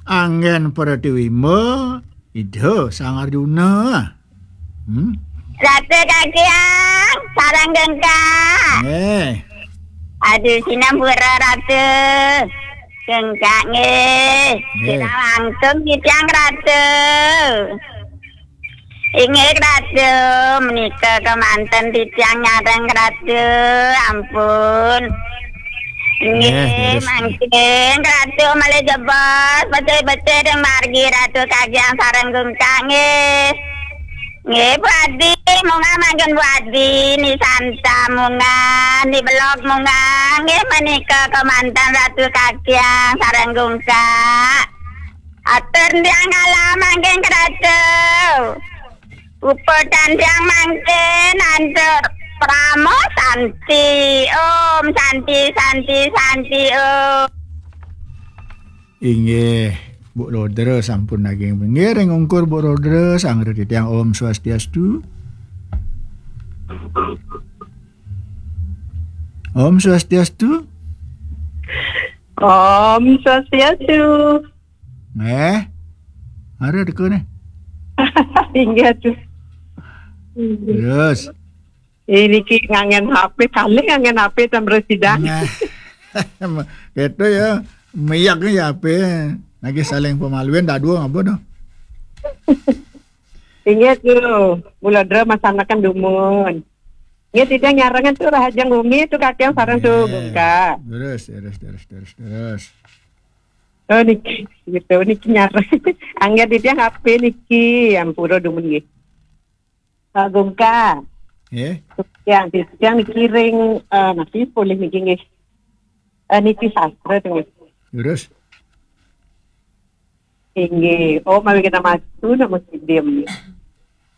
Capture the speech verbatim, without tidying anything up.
Anggen Pratiwimba, Ida Sang Arjuna. Hmm? Ratu Kakyang, sareng Gungkak. Nggih. Aduh, sinampura Ratu. Gungkak nggih. Nggih. Sira langkung titiang Ratu. Inggih Ratu, menika kemanten titiang nyareng Ratu. Ampun. Nggih, nggih, leres. Mangkin Ratu malih jebos, becik-becik ring margi Ratu Kakyang sareng Gungkak nggih. Nggih, Bu Adi, munggah mangkin Bu Adi, Ni Santa munggah, Ni Belog munggah. Nggih, menika kemanten Ratu Kakyang sareng Gungkak. Atur tiang kalah mangkin Ratu. Puput tiang mangkin antuk Parama Santi. Om Santi, Santi, Santi, Om. Inggih, Bu Rodra sampun naging pinggir ring ungkur Bu Rodra, sangreti tiang Om Swastiastu. Om Swastiastu. Om Swastiastu. Eh, ada teka nih. Inggih tuh. Terus. Eh, niki nganggen H P, kalih nganggen H P ten mresidang. Nah. Gitu ya. Miyak nih ya H P. Lagi saling pemaluin dadua ngapa dah? Inggih tuh, Bu Rodra masanaken dumun. Nggih, titiang nyarengan tuh Rahajeng Gumi tuh Kakyang sareng tuh Gungkak. Terus, terus, terus, terus, terus. Oh, niki, gitu, niki nyareng. Anggen titiang H P niki, ampura dumun nggih. Pak Gungkak. Eh? Yang, yang niki ring, eh, niki polih niki nggih. Eh, niki sastra tuh nggih. Terus? Inggih. Oh, mawi kita maju nama sidim.